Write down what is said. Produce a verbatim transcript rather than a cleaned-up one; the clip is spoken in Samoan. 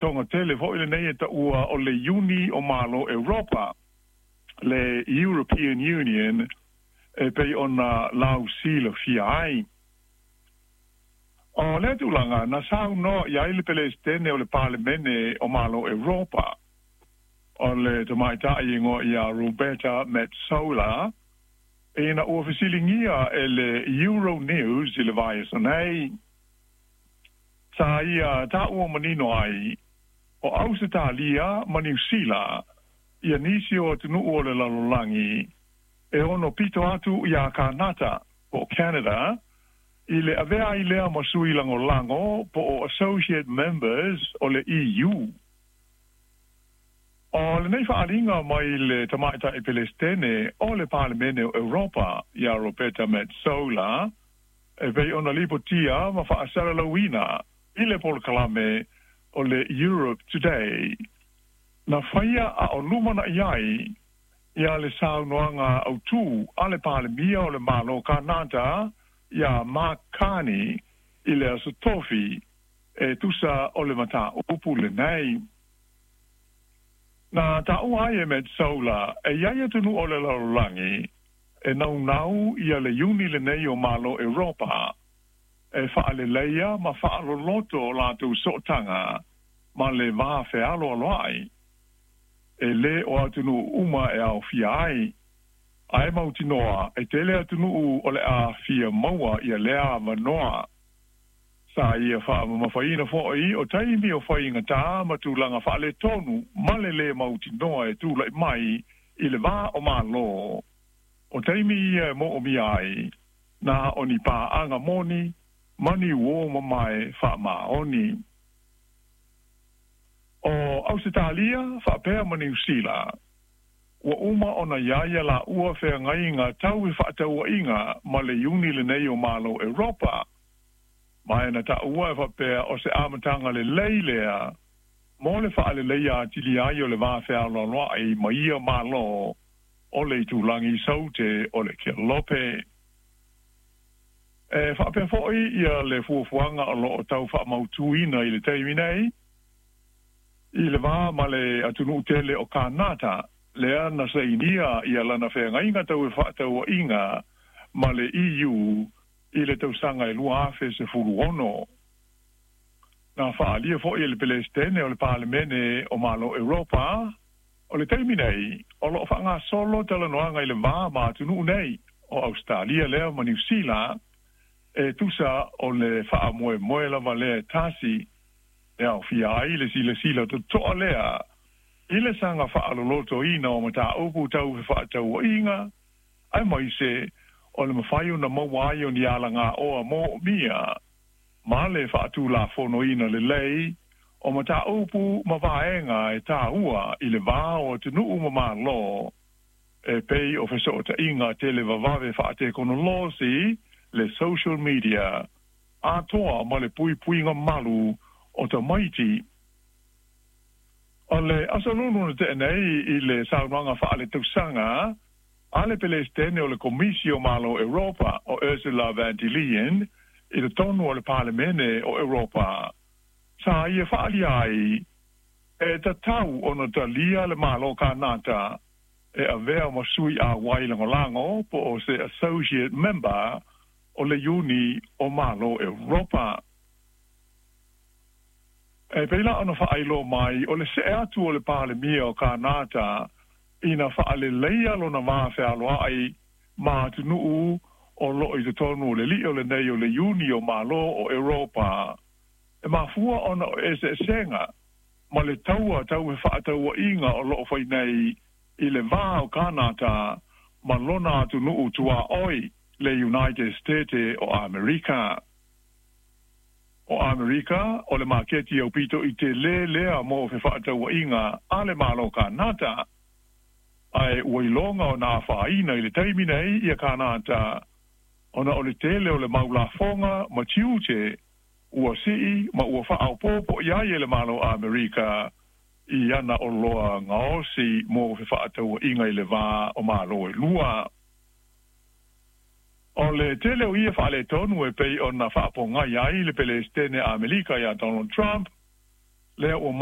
Togatele fo'i lenei e ta'ua o le Iuni o Malo Europa, le European Union, e pei ona lausilafia ai. O lea tulaga na saunoa i ai le Pelesitene o le Palemene o Malo Europa, o le tamaita'i igoa ia Roberta Metsola, ina ua fesiligia e le Euronews i le vaiaso nei. Sa ia ta'ua manino ai, o Ausetalia ma Niusila ia nisi o atunu'u o le lalolagi e ono pito atu iā Kanata po o Canada i le avea ai lea ma sui lagolago po o associate members o le E U. O lenei fa'aaliga mai le tamaita'i Pelestene o le Palemene o Europa iā Roberta Metsola e pei ona lipotia ma fa'asalalauina i le polokalame o le Europe Today na faia a o lumana'i ai ia le saunoaga autū a le Palemia o le Malo Kanata iā Mark Carney i le aso Tofi e tusa o le matāupu lenei. Na ta'ua ai e Metsola e iai atunu'u o le lalolagi e naunau ia le Iuni lenei o Malo Europa e fa'aleleia ma fa'aloloto o latou so'otaga ma le va fealoaloa'i e lē o atunu'u uma e aofia ai ae mautinoa e tele atunu'u o le afia maua ia lea avanoa. Sa ia fa'amamafaina fo'i o taimi o faigatā ma tulaga fa'aletonu ma le lē mautinoa e tula'i mai i le vā o Mālō o taimi ia e mo'omia ai na o ni pā'aga moni ma ni uō mamae fa'amaoni. O Ausetalia fa'apea ma Niusila ua uma ona iā ia lāua feagaiga tau i fa'ataua'iga ma le Iuni lenei o Malo Europa ma e na ta'ua e fa'apea o se amataga lelei lea mo le fa'aleleia atili ai o le va fealoaloa'i ma ia Mālō o le itulagi saute o le Kelope. E fa'apea fo'i ia le fuafuaga o lo'o tau fa'amautūina i le taimi nei i le vā ma le atunu'u tele o Kanata lea na sainia ia lana feagaiga tau e fa'ataua'iga ma le E U i le tausaga e lua afe sefulu ono. Na fa'aalia fo'i e le Pelestene o le Palemene o Malo Europa o le taimi nei o lo'o fa'agasolo talanoaga i le vā ma atunu'u nei o Ausetalia lea ma Niusila e tusa o le fa'amoemoe lava lea e tasi e aofia ai le silasila toto'a lea i le saga fa'alolotoina o matāupu tau fefa'ataua'iga ae maise o le mafai ona maua ai o ni alagāoa mo'omia ma le fa'atulafonoina lelei o matāupu ma vaega e tāua i le vā o atunu'u ma Mālō e pei o feso'ota'iga televavave fa'atekonolosi le social media atoa ma le puipuiga malu o tamaiti. O le aso Lulu na te'e nei i le saunoaga fa'aletausaga a le Pelestene o le Komisi o Malo Europa o Ursula von der Leyen i totonu o le Palemene o Europa sa ia fa'aalia ai e tatau ona talia le Malo Kanata e avea ma sui ʻauai lagolago po o se associate member o le Iuni o Malo Europa. E pei la ona fa'ailoa mai o le se'e atu o le Palemia o Kanata ina fa'aleleia lona va fealoa'i ma atunu'u o lo'o i totonu o le li'i o lenei o le Iuni o Mālō o Europa e mafua ona o eseesega ma le taua tau e fa'ataua'iga o lo'o fai nei i le vā o Kanata ma lona atunu'u tuā'oi le United States o Amerika. O Amerika o le maketi aupito i telē lea mo fefa'ataua'iga a le Malo Kanata ae ua iloga ona afāina i le taimi nei ia Kanata ona o le tele o le mau lafoga ma tiute ua si'i ma ua fa'aopoopo i ai e le Malo Amerika i ana oloa gaosi mo fefa'ataua'iga i le vā o Mālō e lua. O le tele o ia fa'aletonu e pei ona fa'apogai ai le Pelestene Amerika iā Donald Trump lea ua